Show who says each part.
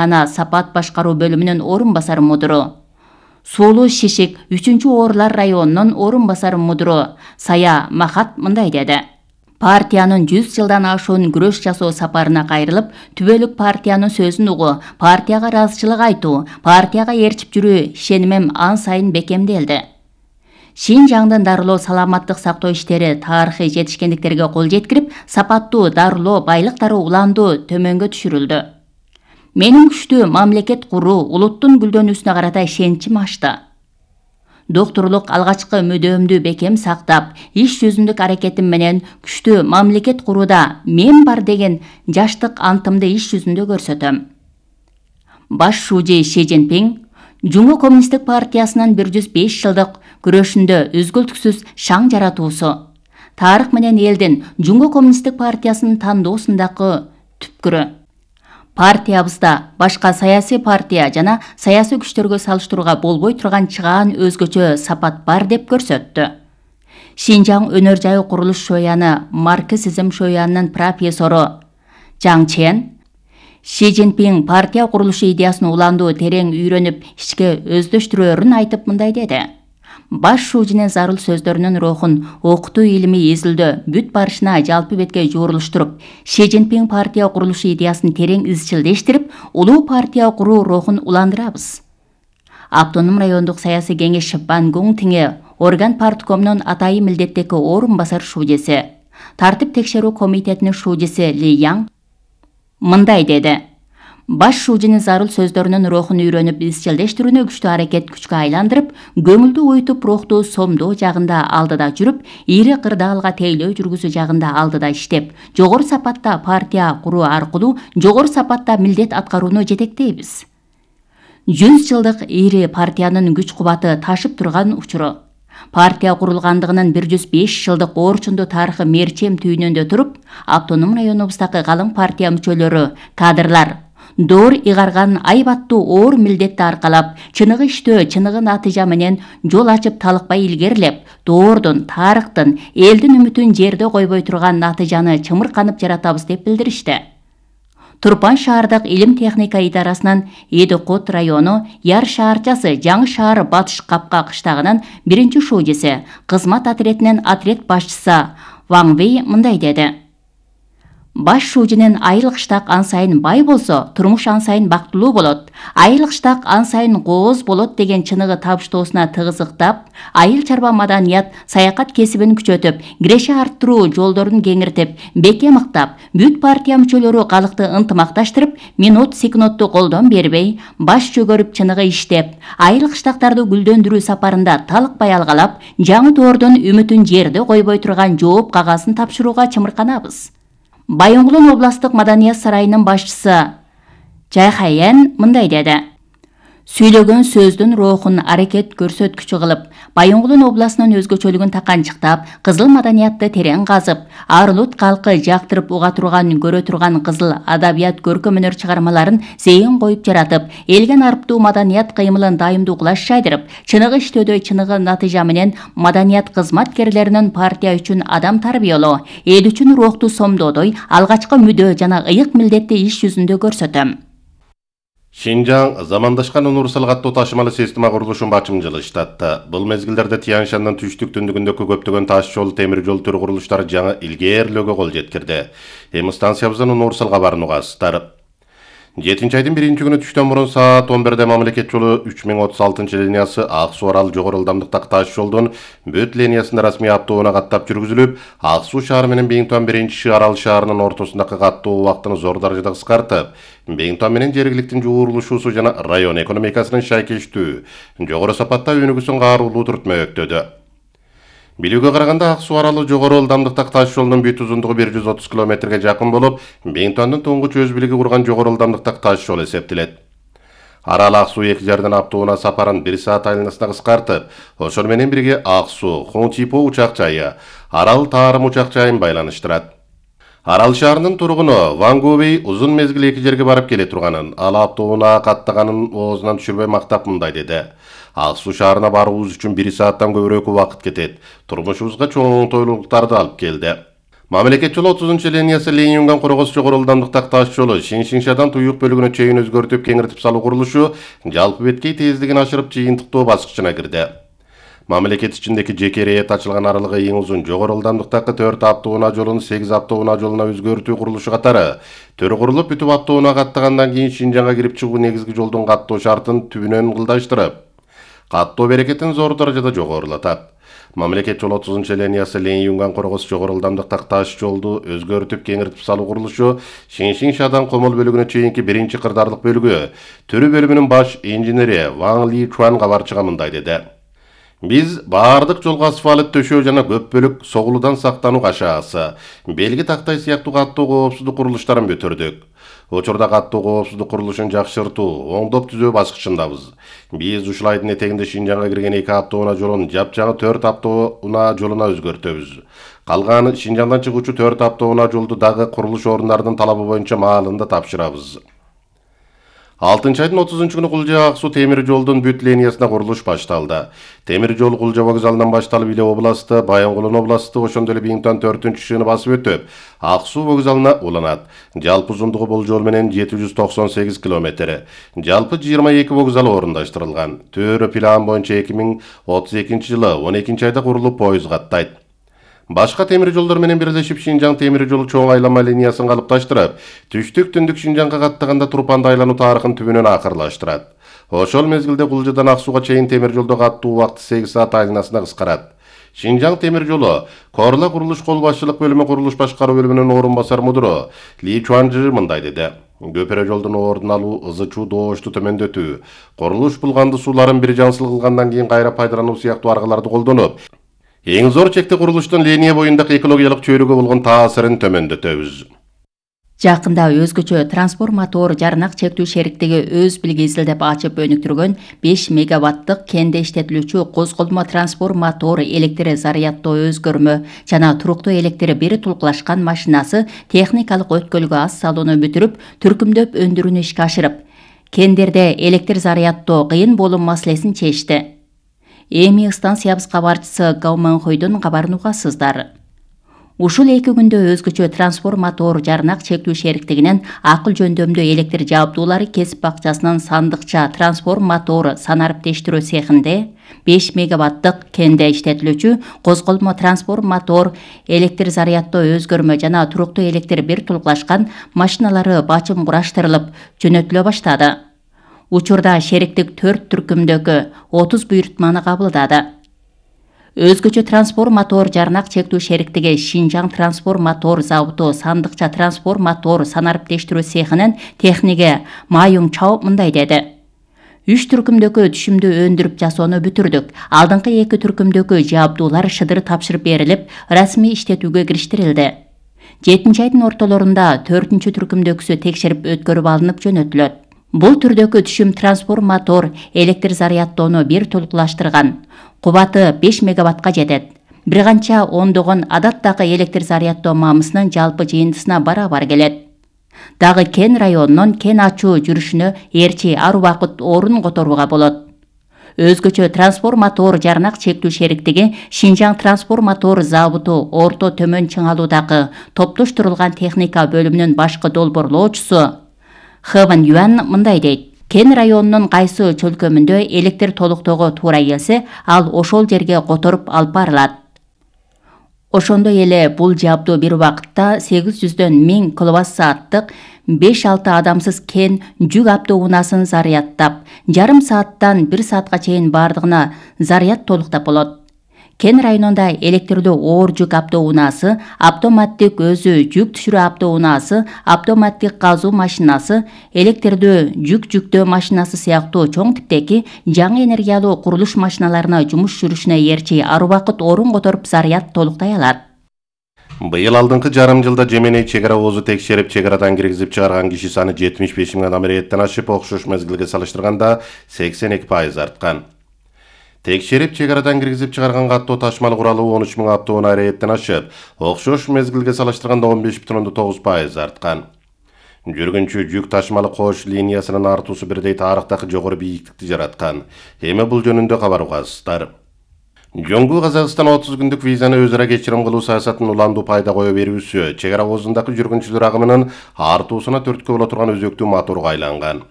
Speaker 1: оорукана Сапат башкаруу бөлүмүнүн орун басары мудуру. Суулуу Шишик 3-Оорулар районунун орун басары мудуру Сая Махат мындай деди. Партиянын 100 жылдан ашуун күрөш жасоо сапарына кайрылып, түбөлүк партиянын сөзүн угуу, партияга ыраазычылык айтуу, партияга ээрчип жүрүү ишенимим ан сайын бекемделди. Шинжаңдын дарылоо саламаттык сактоо иштери тарыхый жетишкендиктерге кол жеткирип, сапаттуу дарылоо байлыктары уландуу төмөнгө түшүрүлдү. Менин күчтүү мамлекет куруу улуттун гүлдөнүүсүнө карата ишеничим ашты. Доктурлук алгачкы мүдөөмдү бекем сактап, иш жүзүндүк аракетим менен күчтүү мамлекет курууда мен бар деген жаштык антымды иш жүзүндө көрсөтөм. Баш шужи Ши Цзиньпин Жумгу коммунисттик партиясынын 105 жылдык күрөшүндө үзгүлтүксүз шаң жаратуусу, тарых менен элдин Жумгу коммунисттик партиясынын тандоосундагы түпкүрү. Партиябызда башка саясий партия жана саясий күчтөргө салыштырууга болбой турган чыгаан өзгөчө сапат бар деп көрсөттү. Шинжаң өнөр жайы курулуш шояны марксизм шоянынын профессору Жаң Чен Ши Цзиньпин партия курулушу идеясын уландуу терең үйрөнүп, ичке өздөштүрөөрүн айтып мындай деди. Баш шужинин зарыл сөздөрүнүн рухун окутуу илими изилдөө бүт барышына жалпы бетке жуурулуштуруп, Ши Цзиньпин партия курулушу идеясын терең изчилдештирип, улуу партия куруу рухун уландырабыз. Автоном райондук саясий кеңеш Бан Гун Тиңе орган парткомунун атайын милдеттеги орун басар шужеси, тартип текшерүү комитетинин шужеси Ли Яң мындай деди. Баш шужинин зарыл сөздөрүнүн рухун үйрөнүп, изчилдештирүүнү күчтүү аракет күчкө айландырып, көңүлдү уютуп, рухту сомдоо жагында алдыда жүрүп, ири кырдаалга тейлөө жүргүзүү жагында алдыда иштеп, жогору сапатта партия куруу аркылуу жогору сапатта милдет аткарууну жетектейбиз. 100 жылдык ири партиянын күч кубаты ташып турган учуру. Партия курулгандыгынын 105 жылдык орчундуу тарыхы мерчем түйүнүндө туруп, автоном районубуздагы калың партия мүчөлөрү, кадрлар доор ыйгарган айбаттуу оор милдетти аркалап, чыныгы иштөө, чыныгы натыйжа менен жол ачып талыкпай илгерилеп, доордун, тарыхтын, элдин үмүтүн жерде койбой турган натыйжаны чымырканып жаратабыз деп билдиришти. Турпан шаардык илим техника идарасынын Эдикот району Яр шаарчасы Жаңы шаар Батыш Капка кыштагынын 1-шужеси, кызмат отрядынын отряд башчысы Ваң Вэй мындай деди. Баш шужинин айыл кыштак ан сайын бай болсо, турмуш ан сайын бактылуу болот, айыл кыштак ан сайын кооз болот деген чыныгы табыштоосуна тыгызыктап, айыл чарба маданият саякат кесибин күчөтүп, киреше арттыруу жолдорун кеңиртип, бекем ыктап, бүт партия мүчөлөрү калыкты ынтымакташтырып, минут секундту колдон бербей, баш чөгөрүп чыныгы иштеп, айыл кыштактарды гүлдөндүрүү сапарында талыкпай алгалап, жаңы доордун үмүтүн жерде койбой турган жооп кагасын тапшырууга чымырканабыз. Байоңгулун областтык маданият сарайынын башчысы Жайхаян мындай деди. Сүйлөгөн сөздүн рухун аракет көрсөткүчү кылып, Байоңгулун областынын өзгөчөлүгүн таканчыктап, кызыл маданиятты терең казып, Арылут калкы жактырып уга турган, көрө турган кызыл адабият көркөм өнөр чыгармаларын зейин коюп жаратып, элген арыптуу маданият кыймылын дайымдуу кулаш жайдырып, чыныгы иштөөдө чыныгы натыйжа менен маданият кызматкерлеринин партия үчүн адам тарбиялоо, эл үчүн рухту сомдоодой алгачкы мүдөө жана ыйык милдетти иш жүзүндө көрсөтөм.
Speaker 2: Шинжаң замандашкан универсал каттуу ташымалы система курулушун бачым жылыштатты. Бул мезгилдерде Тянь-Шаньдын түштүк-түндүгүндөгү көптөгөн таш жол, темир жол түрү курулуштары жаңы илгээрлөөгө кол жеткирди. Эми станциябыздан универсалга барууга асыздар. 7-айдын 1-күнү түштөн мурун саат 11-де мамлекет жолу 3036-линиясы Ак Суу Арал жогору ылдамдыктагы таш жолдун бүт линиясында расмий аптоуна каттап жүргүзүлүп, Ак Суу шаары менен Бейинтон 1-Арал шаарынын ортосундагы каттоо убактыны зор даражада кыскартып, Бейинтон менен жергиликтин жуурулушуусу жана район экономикасынын шайкештүү, жогору сапатта өнүгүүсүн каарулуу түртмөктөдү. Билүүгө караганда Ак Суу Аралы жогору ылдамдыктагы таш жолдун бүт узундугу 130 километрге жакын болуп, Бейинтондун туңгуч өз билиги курган жогору ылдамдыктагы таш жол эсептелет. Арал Ак Суу эки жерден аптоуна сапарын 1 саат айланасына кыскартып, ошол менен бирге Ак Суу, Хунчипо учак жайы, Арал Таарым учак жайын байланыштырат. Арал шаарынын тургуну Ваң Вэй узун мезгил эки жерге барып келе турганын, ал аптоуна каттаганын оозунан түшүрбөй мактап мындай деди. Ак Суу шаарына баруубуз үчүн 1 сааттан көбүрөөк убакыт кетет. Турмушубузга чоң оңтойлуулуктарды алып келди. Мамлекет жолу 30-линиясы Ленин-Юнган коргос жогору ылдамдыктагы таш жолу Шиншиншадан Туюк бөлүгүнө чейин өзгөртүп кеңиртип салуу курулушу жалпы беткей тездигин ашырып жыйынтыктоо баскычына кирди. Мамлекет ичиндеги жеке рейет ачылган аралыгы эң узун жогору ылдамдыктагы 4 автоунаа жолун 8 автоунаа жолуна өзгөртүү курулушу катары төрү курулуп бүтүп автоунаа каттагандан кийин Шинжаңга кирип чыгуу негизги жолдун каттоо шартын түбүнөн ылдайштырып, каттоо берекетин зор даражада жогорулатат. Мамлекет жолу 30-линиясы Ленин-Юнган коргос жогору ылдамдыктагы таш жолду өзгөртүп кеңиртип салуу курулушу Шиншиншадан Комол бөлүгүнө чейинки биринчи кырдаарлык бөлүгү төрү бөлүмүнүн баш инженери Ван Ли Чуан кабарчыга мындай деди. Биз баардык жолго асфальт төшөө жана көп бөлүк согулуудан сактануу кашаасы, белги тактай сыяктуу каттоо коопсуздук курулуштарын бүтүрдүк. Учурда каттоо коопсуздук курулушун жакшыртуу, оңдоп түзөө баскычындабыз. Биз ушул айдын этегинде Шинжаңга кирген 2 автоунаа жолун жапжаңы 4 автоунаа жолуна өзгөртөбүз. Калган Шинжаңдан чыгуучу 4 автоунаа жолду дагы курулуш орундарынын талабы боюнча маалында тапшырабыз. 6-айдын 30-күнү Кулжа-Ак суу темир жолдун бүт линиясына курулуш башталды. Темир жол Кулжа вокзалынан башталып Иле областы, Баянгулун областы, ошондой эле Биңтан 4-шыны басып өтүп, Ак суу вокзалына уланат. Жалпы узундугу бул жол менен 798 километр. Жалпы 22 вокзал орундаштырылган. Төрө план боюнча 2032 жылы 12-айда курулуп поезд каттайт. Башка темир жолдор менен бирлешип Шинжаң темир жолу чоң айланма линиясын калыпташтырып, түштүк-түндүк Шинжаңга каттаганда Турпанды айлануу тарыхын түбүнөн акырлаштырат. Ошол мезгилде Кулжадан Ак сууга чейин темир жолдо каттуу убакыт 8 саат айланасына кыскарат. Шинжаң темир жолу Корла курулуш кол башчылык бөлүмү курулуш башкаруу бөлүмүнүн орун басар мудуру Ли Чуанжы мындай деди. Көпүрө жолдун ордун алуу, ызы-чуу доошту төмөндөтүү, курулуш булганды сууларын бир жансыл кылгандан кийин кайра пайдалануу сыяктуу аргаларды колдонуп, эң зор чекти курулуштун линия боюндагы экологиялык чөйрөгө болгон таасирин төмөндөтөбүз.
Speaker 1: Жакында өзгөчө трансформатор жарнак чектүү шериктиги өз билгейсилдеп ачып өнүктүргөн 5 мегаваттык кенде иштетилүүчү козголмо трансформатор электр заряддоо өзгөрмө жана туруктуу электр бир тулкулашкан машинасы техникалык өткөлгө аз салууну бүтүрүп, түркүмдөп өндүрүүнү ишке ашырып, кендерде электр заряддоо кыйын болуу маселесин чечти. Эми станциябыз кабарчысы Гауманхойдун кабарын угасыздар. Ушул 2 күндө өзгөчө трансформатор жарнак чектүү шериктигинен акыл жөндөмдүү электр жабдуулары кесип бакчасынын сандыкча трансформатор санариптештирүү цехинде 5 мегаваттык кенде иштетилүүчү козголмо трансформатор электр заряддоо өзгөрмө жана туруктуу электр бир тулкулашкан машиналары бачым кураштырылып жөнөтүлө баштады. Учурда шериктик 4 түркүмдөгү 30 буйртманы кабылдады. Өзгөчө трансформатор жарнак чектүү шериктиги Шинжаң трансформатор заводу сандыкча трансформатор санариптештирүү цехинин техниги Майюң Чао мындай деди. 3 түркүмдөгү түшүмдү өндүрүп жасоону бүтүрдүк. Алдыңкы 2 түркүмдөгү жабдуулар шыдыр тапшырып берилип, расмий иштетүүгө кириштирилди. 7-айдын ортолорунда 4-чү түркүмдөгүсү текшерип өткөрүп алынып жөнөтүлөт. Бул түрдөгү түшүм трансформатор электр заряддоону бир толкулаштырган. Кубаты 5 мегаваттка жетет. Бир канча ондогон адаттагы электр заряддоо мамысынын жалпы жыйынтысына барабар келет. Дагы кен районунун кен ачуу жүрүшүнө эрчи ар убакыт орун которууга болот. Өзгөчө трансформатор жарнак чектүү шериктиги Шинжаң трансформатор заводу орто төмөн чыңалуудагы топтоштурулган техника бөлүмүнүн башкы долбоорлоочусу Хэван Юан мындай дейт. Кен районунун кайсы чөлкөмүндө электр толуктоого туура келсе, ал ошол жерге которуп алып барылат. Ошондой эле бул жабдуу бир убакытта 800дөн 1000 киловатт-сааттык 5-6 адамсыз кен жүк автоунаасын заряддап, жарым сааттан 1 саатка чейин бардыгына заряд толуктап болот. Кен районунда электрлүү оор жүк автоунаасы, автоматтик өзү жүк түшүрүү автоунаасы, автоматтик казуу машинасы, электрлүү жүк жүктөө машинасы сыяктуу чоң типтеги жаңы энергиялуу курулуш машиналарына жумуш жүрүшүнө эрчи ар убакыт орун которуп заряд толуктай алат.
Speaker 2: Быйыл алдыңкы жарым жылда Жеменей чек ара оозу текшерип, чек арадан киргизип чыгарган киши саны 75 миң адам рейеттен ашып, окшош мезгилге салыштырганда 82% арткан. Текшерип чек арадан киргизип чыгарган каттоо ташмал куралы 13 миң автоунаа рейеттен ашып, окшош мезгилге салыштырганда 15,9% арткан. Жүргүнчү жүк ташмалы кош линиясынын артуусу бирдей тарыхтагы жогору бийиктикти жараткан. Эми бул жөнүндө кабар угасыздар. Жоңгу Казакстан 30 күндүк визаны өзара кечирим кылуу саясатын уландуу пайда кое берүүсү чек ара оозундагы жүргүнчүлөр агымынын артуусуна түрткү боло турган өзөктүү моторго айланган.